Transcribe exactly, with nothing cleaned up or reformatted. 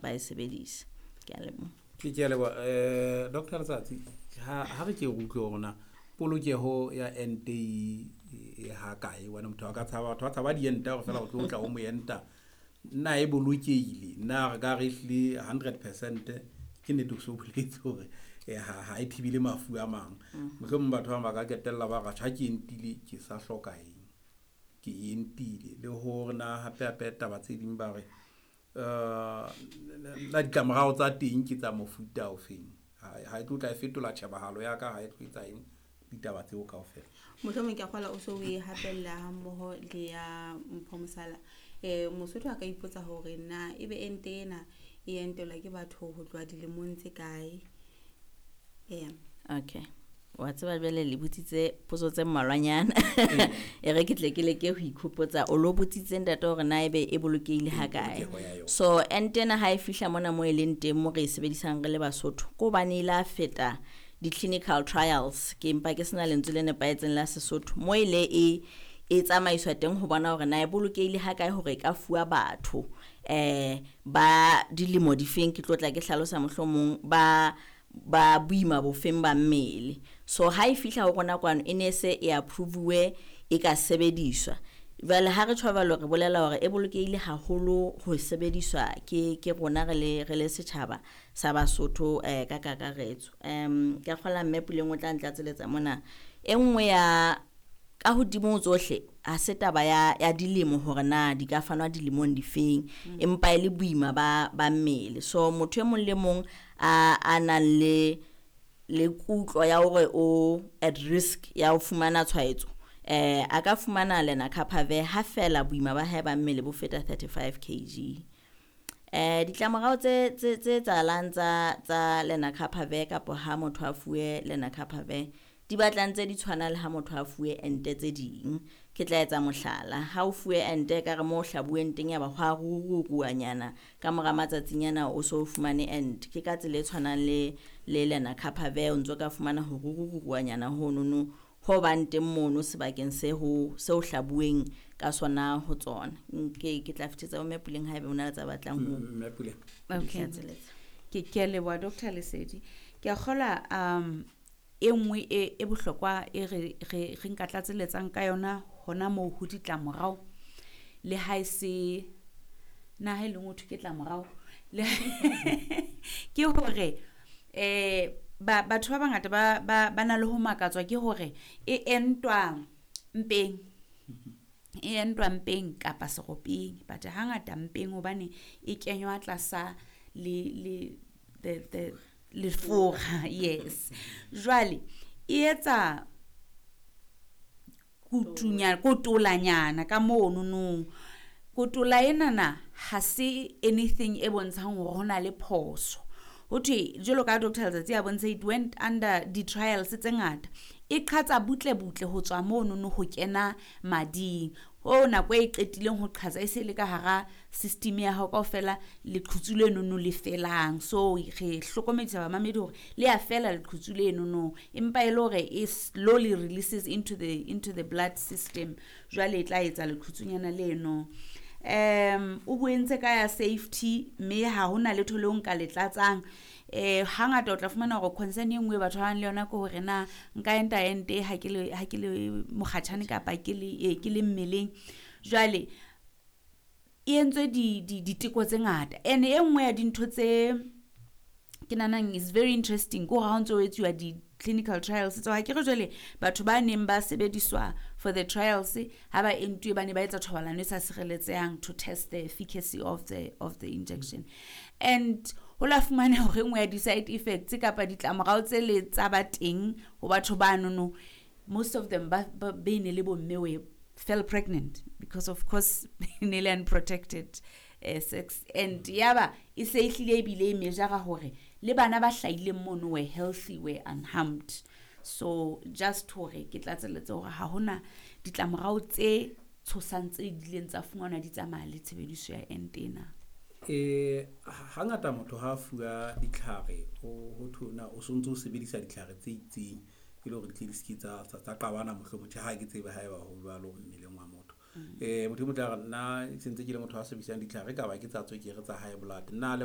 ba e sebedisa. Ke a leboha. Ke ke a leboha. Eh, Doctor Letsatsi, ha ha re ke re utlwe hore na polokeho ya ente e e ha kae, hobane motho a ka tshaba, batho ba tshaba diente hore fela o tlo tla o mo enta. Na e bolokehile? Na re ka re ehlile hundred percent ke nnete o so boletse hore ha ha e thibele mafu a mang. Mohlomong batho ba bang ba ka qetella ba re atjhe ha ke entile ke sa hloka eng, ke entile. Le hore na hape hape taba tse ding ba re na ditlamorao tsa teng ke tsa mofuta ofeng, ha e tlo tla e fetola tjhebahalo ya ka, ha e tlo etsa eng, ditaba tseo kaofela. Mohlomong ke a kgolwa o so o e hapella ha mmoho le ya Mpho Mosala. Eh, Mosotho a ka ipotsa hore na ebe ente ena e entelwa ke batho ho tloha dilemong tse kae? Eya. Okay. Wa tseba jwale le botsitse potso tse mmalwanyana. E re ke tle ke leke ho ikhopotsa. O lo botsitse ntate hore na ebe e bolokehile ha kae. Polokeho ya yona. So ente ena ha e fihla mona mo e leng teng mo re e sebedisang re le Basotho, ke hobane e la feta di-clinical trials, ke empa ke sena lentswe le nepahetseng la Sesotho, mo e le e e tsamaiswa teng ho bona hore na e bolokehile ha kae hore e ka fuwa batho eh ba dilemo difeng, ke tlo tla ke hlalosa mohlomong ba ba boima bofeng ba mmele. So ha e fihla ho rona kwano e ne se e approve-uwe e ka sebediswa. Jwale ha re tjho jwalo re bolela hore e bolokehile haholo ho sebediswa ke ke rona re le re le setjhaba sa Basotho eh ka kakaretso. Um ke a kgolwa mme Puleng o tla ntlatseletsa mona. E nngwe ya ka hodimo ho tsohle ha se taba ya ya dilemo hore na di ka fanwa dilemong difeng, empa e le boima ba ba mmele. So motho e mong le mong a a nang le le kutlo ya hore o at risk ya ho fumana tshwaetso, eh a ka fumana lenacapavir ha fela boima ba hae ba mmele bo feta thirty-five kilograms. Eh ditlamorao tse tse tse etsahalang tsa tsa lenacapavir kapa ha motho a fuwe lenacapavir di batla ntse di tshwana le ha motho a fuwe ente tse ding. Ke tla etsa mohlala, ha o fuwe ente ekare mo o hlabuweng teng ya ba ho a rururuwanyana ka mora matsatsinyana o so fumane ente. Ke ka tsela e tshwanang le le lenacapavir o ntso ka fumana ho rururuwanyana honono ho bang teng mono sebakeng se ho se o hlabuweng ka sona ho tsona. Ke ke tla fetisetsa ho Mme Puleng haebe o na le tsa batlang ho Mme Puleng. Okay. tlatseletsa. Ke ke a leboha Doctor Lesedi. Ke a kgolwa um e nngwe e e bohlokwa e re re re nka tlatseletsang ka yona hona moo ho ditlamorao le ha e se na ha e leng ho thwe ke tlamorao le ke hore eh ba batho ba bangata ba ba ba na le ho makatswa ke hore e entwa mpeng, e entwa mpeng kapa seropeng, but hangata mpeng hobane e kenywa tlasa le le the the lefura. Yes, jwale e etsa kutunya kotolanyana ka mono no. Kotola enana ha se anything e bontshang hore hona le phoso. Ho thwe jwalo ka Doctor Letsatsi a bontsha, it went under di trials tse ngata, e qhatsa butle butle ho tswa mono no ho kena mading. Ho nako e qetileng ho qhatsa e se le ka hara system ya hao kaofela, leqhutsu leno no le felang. So re hlokomedisa bamamedi hore le a fela leqhutsu leno no, empa e le hore e slowly releases into the into the blood system, jwale e tla etsa leqhutsunyana leno. Um o buentse ka ya safety, mme ha hona letho leo nka le tlatsang. Eh hangata o tla fumana hore concern e nngwe batho ba bang le yona ke hore na nka enta ente ha ke le ha ke le mokgatjhane kapa ke le eh, ke le mmeleng. Jwale e entswe di di diteko tse ngata, and e nngwe ya dintho tse ke nahanang is very interesting ke hore ha o ntso o etsuwa di-clinical trials tseo, ha ke re jwale batho ba neng ba sebediswa for the trials ha ba entuwe ba ne ba etsa thobalano e sa sireletsehang to test the efficacy of the of the injection. And ho la fumana hore e nngwe ya di-side effects kapa ditlamorao tse le tsa ba teng ho batho ba nono, most of them ba ba be ne le bomme we fell pregnant because of course ne le unprotected uh, sex. And yaba e se e hlile ebile e measure hore le bana ba hlahileng mono were healthy, were unharmed. So just hore ke tlatseletse hore ha hona ditlamorao tse tshosang tse ileng tsa fumanwa di tsamaya le tshebediso ya ente ena. Eh hangata motho ha fuwa ditlhare ho ho thwe na o sontso o sebedisa ditlhare tse itseng e le hore di tle di ske tsa tsa qabana mohlomong. Tjhe, ha ke tsebe haeba ho jwalo mmeleng wa motho. Eh motho e mong tla re nna sentse ke le motho a sebedisang ditlhare ka ba ke tsa tswekere tsa high blood, nna le ba